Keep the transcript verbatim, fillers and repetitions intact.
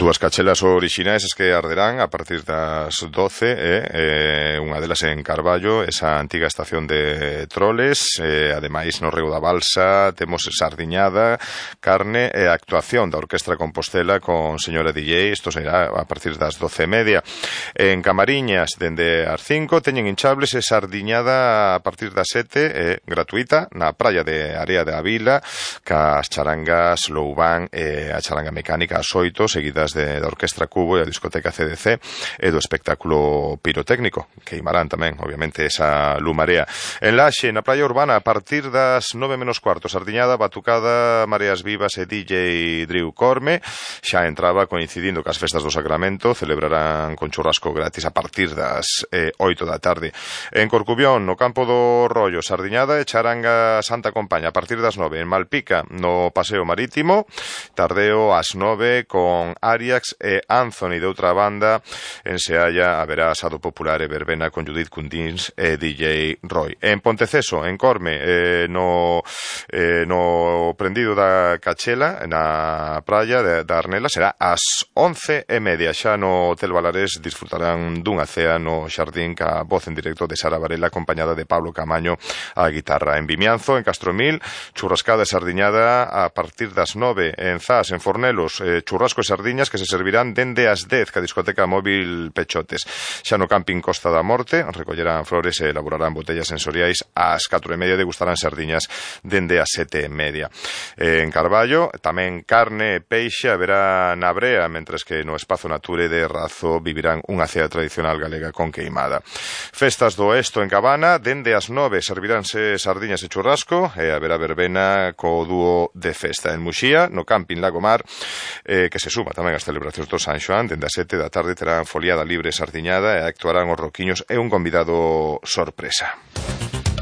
Dúas cachelas orixinais as que arderán a partir das doce, eh, eh, unha delas en Carballo, esa antiga estación de troles, eh, ademais no Rego da Balsa temos sardiñada, carne e actuación da Orquestra Compostela con señora D J, isto será a partir das doce e media. En Camariñas, dende as cinco, teñen hinchables e sardiñada a partir das sete, eh, gratuita, na praia de Area de Avila, cas charangas Loubán e a charanga mecánica ás oito, seguidas de, da Orquestra Cubo e a discoteca C D C e do espectáculo pirotécnico, que imarán tamén, obviamente, esa lumarea. En Laxe, na praia urbana, a partir das nove menos cuarto, sardiñada, batucada, mareas vivas e D J Drew Corme. Xa entraba coincidindo cas festas do Sacramento, celebrarán con churrasco gratis a partir das eh, oito da tarde. En Corcubión, no campo do Rollo, sardiñada e charanga Santa Compaña, a partir das nove. En Malpica, no Paseo Marítimo, tardeo ás nove con Ariax e Anthony. De outra banda, en Sealla haberá asado popular e verbena con Judith Cundins e D J Roy. En Ponteceso, en Corme, eh, no, eh, no prendido da Cachela, na praia de, da Arnela, será ás once e media. Xa no Hotel Valarés disfrutarán dunha cea no xardín ca voz en directo de Sara Varela, acompañada de Pablo Camaño á guitarra. En Vimianzo, en Castromil, churrascada e sardiñada a partir das nove. En Zas, en Fornelos, eh, churrasco e sardiñas que se servirán dende as dez, ca discoteca móvil Pechotes. Xa no camping Costa da Morte, recollerán flores e elaborarán botellas sensoriais ás catro e media, degustarán sardiñas dende as sete e media. Eh, en Carballo, tamén carne e peixe haberá na brea, mentres que no Espazo Nature de Razo vivirán unha cea tradicional galega con queimada. Festas do Oesto en Cabana, dende as nove serviránse sardiñas e churrasco e haberá verbena co dúo de festa. En Muxía, no camping Lagomar, eh, que se suma tamén as celebracións do San Xoán, dende as sete da tarde terán foliada libre sardiñada e actuarán os roquiños e un convidado sorpresa.